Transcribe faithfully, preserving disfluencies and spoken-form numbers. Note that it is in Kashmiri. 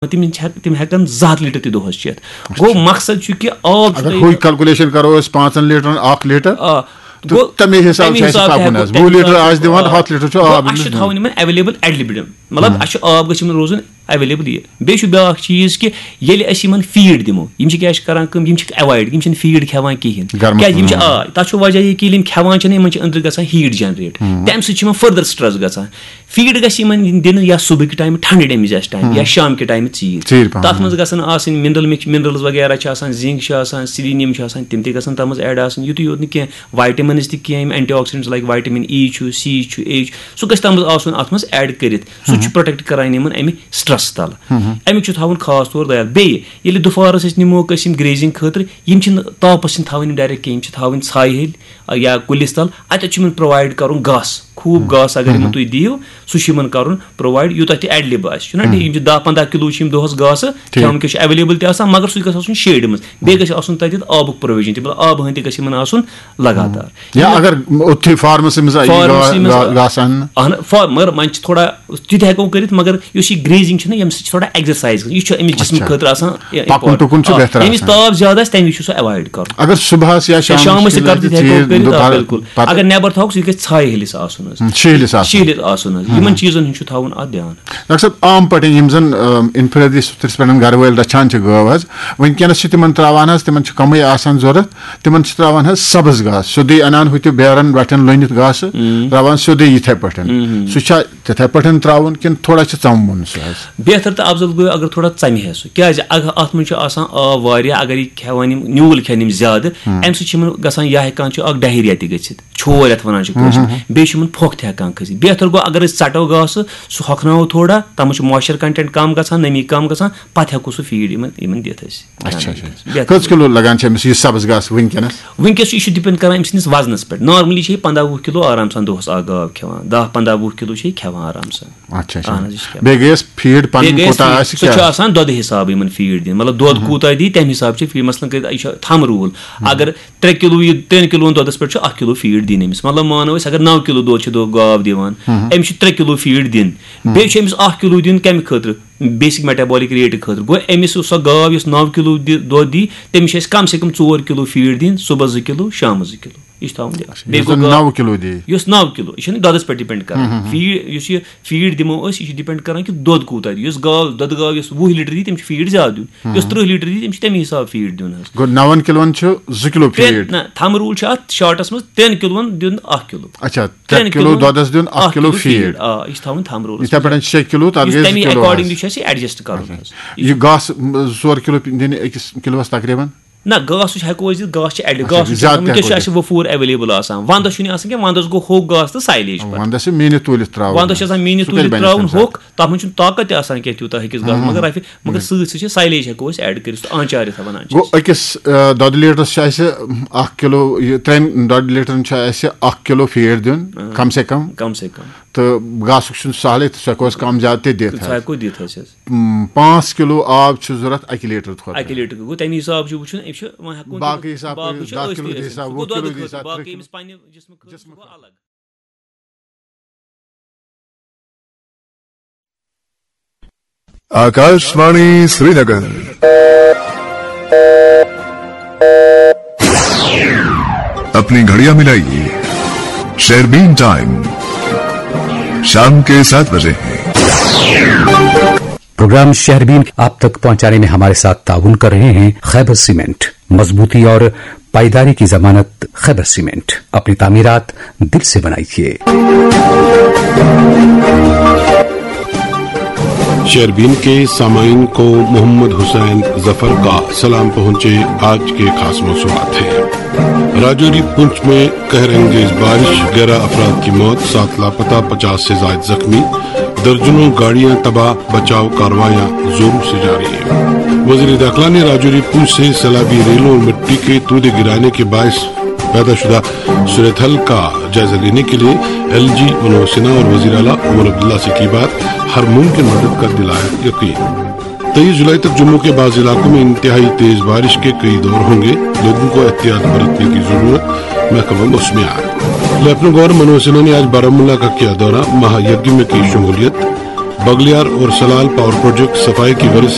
تِم چھِ ہٮ۪ک-، تِم ہٮ۪کَن زٕ ہَتھ لیٖٹر تہِ دۄہَس چٮ۪تھ۔ گوٚو مقصد چھُ کہِ آب چھُ اگر تۄہہِ ہُے کیلکولیشن کرو أسۍ پانٛژن لیٖٹرن اکھ لیٖٹر، آ، تہٕ تَمے حساب چھُ اَسہِ پَکُن حظ۔ وُہ لیٖٹر آسہِ دِوان، ہَتھ لیٖٹر چھُ آب۔ اَسہِ چھُ تھاوُن یِمن ایویلیبل ایٹ لِمِٹن، مطلب اَسہِ چھُ آب گژھِ یِمن روزُن ایویلیبل۔ یہِ بیٚیہِ چھُ بیٛاکھ چیٖز کہِ ییٚلہِ أسۍ یِمن فیٖڈ دِمو، یِم چھِ کیٛاہ چھِ کران کٲم، یِم چھِکھ ایوایڈ، یِم چھِنہٕ فیٖڈ کھٮ۪وان کِہینۍ۔ گرمس کیٛازِ یِم چھِ منٛز۔ آ، تَتھ چھُ وجہ یہِ کہِ ییٚلہِ یِم کھٮ۪وان چھِنہٕ، یِمن چھِ أنٛدرٕ گژھان ہیٖٹ جنریٹ، تَمہِ سۭتۍ چھِ یِمن فٔردر سٹرٛس گژھان۔ فیٖڈ گژھِ یِمن دِنہٕ یا صُبحٕکہِ ٹایمہٕ ٹھنڈٕ ڈیمہِ آسہِ ٹایم یا شام کہِ ٹایمہٕ ژیٖرۍ۔ ژیٖرۍ پَہَم۔ تَتھ منٛز گژھن آسٕنۍ منرل مِکس، منرلز وغیرہ چھِ آسان، زنک چھِ آسان، سیلینیم چھِ آسان، تِم تہِ گژھن تَتھ منٛز ایڈ آسٕنۍ۔ یُتُے یوت نہٕ کینٛہہ، وائٹمنز تہِ کینٛہہ، یِم اینٹی آکسیڈنٹس لایک وائٹمن ای چھُ، سی چھُ، اے چھُ، سُہ گژھِ تَتھ منٛز آسُن اَتھ منٛز ایڈ کٔرِتھ۔ سُہ چھُ پروٹیکٹ کران یِمن اَمہِ سٹرٛس تَلہٕ۔ اَمیُک چھُ تھاوُن خاص طور دیال۔ بیٚیہِ ییٚلہِ دُپھارَس أسۍ نِموکھ أسۍ یِم گریزنگ خٲطرٕ، یِم چھِنہٕ تاپَس چھِنہٕ تھاوٕنۍ یِم ڈائریکٹ کینٛہہ، یِم چھِ تھاوٕنۍ ژھایہِ ہِلۍ یا کُلِس تَل۔ اَتٮ۪تھ چھُ یِمن پرووائڈ کَرُن گاسہٕ، خوٗب گاسہٕ اگر یِمن تُہۍ دِیِو، سُہ چھُ یِمن کَرُن پرووائڈ، یوٗتاہ تہِ ایویلیبل آسہِ، چھُنہ ٹھیٖک؟ یِم چھِ دَہ پنٛداہ کِلوٗ چھِ یِم دۄہَس گاسہٕ ٹھیٖک۔ کھٮ۪وان، وٕنکیٚس چھُ ایویلیبل تہِ آسان، مگر سُہ گژھِ آسُن شیڈِ منٛز، بیٚیہِ گژھِ آسُن تَتٮ۪تھ آبُک پروویجن تہِ، مطلب آبہٕ ہٕنٛدۍ تہِ گژھِ یِمن آسُن لگاتار۔ یا اگر اوٚتھُے فارمَسٕے منٛز آ، یہِ فارمَسٕے گا-، منٛز گا-، آ۔ گاسہٕ اَننہٕ۔ اہن، فار-، مگر وۄنۍ چھِ تھوڑا تہِ تہِ ہٮ۪کو کٔرِتھ، مگر یُس یہِ گریزنگ چھِ نہ، ییٚمہِ سۭتۍ چھِ تھوڑا ایکزرسایز گژھان، یہِ چھُ أمِس جسمہٕ اچھا۔ خٲطرٕ آسان پَکُن اِمپاٹنٹ۔ پُکُن چھُ آ، بہتر ییٚمِس آسان۔ تاپھ زیادٕ آسہِ، تَمہِ وِزِ چھُ سُہ ایوایڈ کَرُن۔ اگر صُبحَس یا یا شامَس شامَس تہِ کِنہٕ کَرٕ تہِ ہٮ۪کو ژیٖرۍ کٔرِتھ، آ، دُپہر بِلکُل۔ پَتہٕ۔ اگر نٮ۪بر تھاوکھ، سُہ گژھِ ژھایہِ ہِلِس آسُن حظ۔ ہُم، شیٖلِس آسُن۔ شیٖلِس آسُن حظ۔ یِمن چیٖزن ہُنٛد چھُ تھاوُن اَتھ دیان۔ ڈاکٹر صٲب، عام پٲٹھۍ یِم زَن، ٲم، انفرٲدی سطرس پٮ۪ٹھ گرٕ وٲلۍ رَچھان چھِ گٲو حظ، وٕنکیٚنَس چھِ تِمن ترٛاوان حظ، تِمن چھِ کَمٕے آسان ضوٚرَتھ، تِمن چھِ ترٛاوان حظ سبٕز گاسہٕ، سیوٚدُے اَنان ہُتہِ بیرَن وَٹٮ۪ن لٔنِتھ گاسہٕ، ترٛاوان سیوٚدُے یِتھَے پٲٹھۍ۔ سُہ چھا تِتھَے پٲٹھۍ ترٛاوُن کِنہٕ تھوڑا چھِ ژَموُن سُہ حظ؟ بہتر تہٕ افضل گوٚو اگر تھوڑا ژَمہِ ہے سُہ، کیٛازِ اگر اَتھ منٛز چھُ آسان آب واریاہ، اگر یہِ کھٮ۪وان یِم نیوٗل کھٮ۪ن یِم زیادٕ، اَمہِ سۭتۍ چھِ یِمن گژھان یا ہٮ۪کان چھُ اَکھ ڈہیریا تہِ گٔژھِتھ، چھور یَتھ وَنان چھِ کٲشِر، بیٚیہِ چھِ یِمن پھۄکھ تہِ ہٮ۪کان کھٔسِتھ۔ بہتر گوٚو اگر أسۍ ژَٹو گاسہٕ، سُہ ہۄکھناوو تھوڑا، تَتھ منٛز چھُ مویسچر کنٹینٹ کَم گژھان، نمی کَم گژھان، پَتہٕ ہٮ۪کو سُہ فیٖڈ یِمن، یِمن دِتھ أسۍ۔ اچھا، اچھا۔ بہتر۔ کٔژ کِلوٗ لگان چھِ أمِس یہِ سبٕز گاسہٕ وٕنکیٚنَس؟ وٕنکیٚس چھُ، یہِ چھُ ڈِپینڈ کران أمۍ سٕنٛدِس وزنَس پٮ۪ٹھ۔ نارملی چھِ یہِ پنٛداہ وُہ کِلوٗ آرام سان دۄہَس اَکھ گاو کھٮ۪وان، دَہ پنٛداہ وُہ کِلوٗ چھِ یہِ کھٮ۪وان آرام سان۔ اچھا، اچھا۔ اہن حظ، یہِ چھِ کھٮ۪وان۔ بیٚیہِ گٔیَس فیٖڈ پَنٕنۍ بیٚیہِ گٔیَس کوٗتاہ فیٖڈ، آسہِ، سُہ کیٛاہ چھُ آسہِ؟ آسان دۄدٕ حِسابہٕ یِمَن فیٖڈ دِنۍ، مطلب دۄد کوٗتاہ دی، تَمہِ حِسابہٕ چھِ فیٖڈ۔ مثلاً کٔرِتھ، یہِ چھُ تھَم روٗل، اگر ترٛےٚ کِلوٗ یہِ، ترٛٮ۪ن کِلوٗوَن دۄدَس پٮ۪ٹھ چھُ اَکھ کِلوٗ فیٖڈ دِنۍ أمِس۔ مطلب مانو أسۍ، اگر نَو کِلوٗ دۄد چھِ دۄ-، گاو دِوان، أمِس چھِ ترٛےٚ کِلوٗ فیٖڈ دِنۍ۔ بیٚیہِ چھُ أمِس اَکھ کِلوٗ دیُن کَمہِ خٲطرٕ؟ بیسک میٹابولک ریٹ خٲطرٕ۔ گوٚو أمِس یُس سۄ گاو یۄس نَو کِلوٗ دِ-، دۄد دی، تٔمِس چھِ اَسہِ کَم سے کَم ژور کِلوٗ فیٖڈ دِنۍ، صُبحَس زٕ کِلوٗ، شامَس زٕ کِلوٗ۔ یہِ چھُ تھاوُن دیان۔ بیٚیہِ یُس گوٚو زَن گاو، نَو کِلوٗ دی۔ یُس نَو کِلوٗ، یہِ چھُنہٕ دۄدَس پٮ۪ٹھ ڈِپینڈ کران۔ فیٖڈ، یُس یہِ فیٖڈ دِمو أسۍ، یہِ چھُ ڈِپینڈ کران کہِ دۄد کوٗتاہ دی۔ یُس گاو، دۄدٕ گاو یۄس وُہ لیٖٹر دی، تٔمِس چھُ فیٖڈ زیادٕ دیُن۔ یۄس تٕرٛہ لیٖٹر دی، تٔمِس چھُ تَمی حِسابہٕ فیٖڈ دیُن حظ۔ گوٚو نَوَن کِلوَن چھُ زٕ کِلوٗ ترٛےٚ، فیٖڈ۔ نہ، تھَم روٗل چھُ اَتھ شارٹَس منٛز، ترٛٮ۪ن کِلوَن دیُن اَکھ کِلوٗ۔ اچھا، ترٛٮ۪ن ترٛےٚ کِلوٗ کِلوَن دۄدَس دیُن اَکھ اَکھ کِلوٗ کِلوٗ فیٖڈ۔ فیٖڈ۔ آ، یہِ چھُ تھاوُن تھَم روٗلَس یِتھَے منٛز۔ پٲٹھۍ چھِ شےٚ کِلوٗ، تَتھ یُس گٔے زٕ تَمی کِلوٗ اکارڈنگلی حظ۔ چھُ اَسہِ یہِ ایڈجسٹ کَرُن اچھا۔ حظ۔ یہِ گاسہٕ، م، زٕ ژور کِلوٗ دِنہِ أکِس کِلوٗوَس تقریٖباً؟ نہ، گاسہٕ چھِ ہٮ۪کو أسۍ دِتھ، گاسہٕ چھِ ایڈ-، اچھا، گاسہٕ چھُ زیادٕ آسان، تہِ وٕنکیٚس چھُ ہٮ۪کو اَسہِ دِتھ۔ وفوٗر ایویلیبل آسان، وَندَس چھُنہٕ آسان کینٛہہ، وَندَس گوٚو ہوٚکھ گاسہٕ تہٕ سایلیج پَتہٕ۔ وَندَس چھِ میٖنِتھ تُلِتھ ترٛاوُن۔ وَندَس چھِ آسان میٖنِتھ سُہ کَتہِ تُلِتھ بَنہِ تَمہِ ترٛاوُن ساتہٕ؟ ہوٚکھ، تَتھ منٛز چھُنہٕ طاقت تہِ آسان کینٛہہ تیوٗتاہ ہیٚکِس گاسہٕ، مگر رَفہِ، مگر سۭتۍ سۭتۍ چھِ سایلیج ہٮ۪کو أسۍ ایڈ کٔرِتھ، سُہ آنچار یَتھ وَنان چھِ گوٚو أسۍ۔ أکِس، آ، دۄدٕ لیٖٹرَس چھِ اَسہِ اَکھ کِلوٗ، یہِ ترٛٮ۪ن دۄدٕ لیٖٹرَن چھُ اَسہِ اَکھ کِلوٗ فیٖڈ دیُن، آ۔ کم سے کم۔ کم سے کم۔ تہٕ گاسُک چھُنہٕ سہلٕے، تہٕ سُہ ہٮ۪کو أسۍ کَم زیادٕ تہِ دِتھ سُہ حظ۔ ہٮ۪کو دِتھ حظ، حظ۔ م، پانٛژھ کِلوٗ آب چھُ ضوٚرَتھ اَکہِ لیٖٹر خٲطرٕ۔ اَکہِ لیٖٹر گوٚو، تَمہِ حِسابہٕ چھُ وٕچھُن، أمِس چھُ وۄنۍ ہٮ۪کو باقٕے دِتھ، حِساب باقٕے کٔرِو، چھُ دَہ أسۍ کِلوٗ تہِ دِ أسۍ حِساب، دِتھ۔ وُہ گوٚو کِلوٗ دۄدٕ دِ خٲطرٕ، حِساب، باقٕے ترٛےٚ أمِس کِلوٗ۔ پنٛنہِ جسمہٕ خٲطرٕ چھُ گوٚو الگ۔ आकाशवाणी श्रीनगर। अपनी घड़ियां मिलाइए, शेरबीन टाइम शाम के सात बजे हैं। प्रोग्राम शहरबीन आप तक पहुंचाने में हमारे साथ ताउन कर रहे हैं खैबर सीमेंट। मजबूती और पायदारी की जमानत खैबर सीमेंट। अपनी तामीरात दिल से बनाइए। शेरबीन के सामाइन को मोहम्मद हुसैन जफर का सलाम पहुंचे। आज के खास मौसूआत हैं। राजौरी पुंछ में कहर अंगेज बारिश, ग्यारह अफराद की मौत, सात लापता, पचास से जायद जख्मी, दर्जनों गाड़ियां तबाह, बचाव कार्रवाइयां जोरों से जारी है। वजीर दाखिला ने राजौरी पुंछ से सैलाबी रेलों और मिट्टी के तूदे गिराने के बायस पैदा शुदा सूरत हाल का जायजा लेने के लिए एलजी मनोज सिन्हा और वजीर आला उमर अब्दुल्ला से की बात, हर मुमकिन मदद का दिलाया यकीन। तेईस जुलाई तक जम्मू के बाज इलाकों में इंतहाई तेज बारिश के कई दौर होंगे, लोगों को एहतियात बरतने की जरूरत, महकमा मौसमियात। लेफ्टिनेंट गवर्नर मनोज सिन्हा ने आज बारामूला का किया दौरा, महायज्ञ में की शमूलियत, بگلیار اور سلال پاور پروجیکٹ صفائی کی غرض